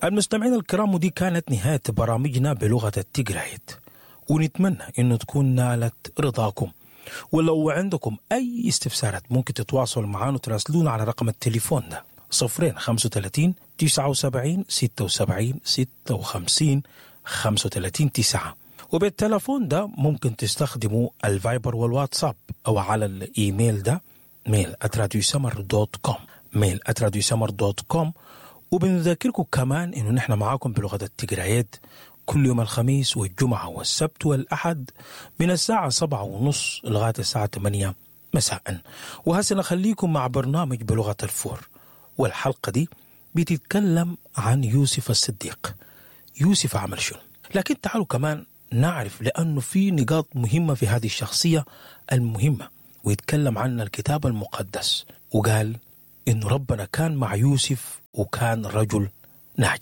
المستمعين الكرام، ودي كانت نهاية برامجنا بلغة التجرايت، ونتمنى إنه تكون نالت رضاكم. ولو عندكم أي استفسارات ممكن تتواصلوا معنا وتراسلونا على رقم التليفون ده 0 35 79 76 56 35 9. وبالتلفون ده ممكن تستخدموا الفايبر والواتساب، أو على الإيميل ده mail@radiosmr.com، mail@radiosmr.com. وبنذكركم كمان إنه نحن معاكم بلغة التجريات كل يوم الخميس والجمعة والسبت والأحد من الساعة 7:30 لغاية الساعة 8 مساء. وهسه نخليكم مع برنامج بلغة الفور، والحلقة دي بتتكلم عن يوسف الصديق، يوسف عمل شنو. لكن تعالوا كمان نعرف، لأنه في نقاط مهمة في هذه الشخصية المهمة، ويتكلم عنها الكتاب المقدس، وقال إن ربنا كان مع يوسف وكان رجل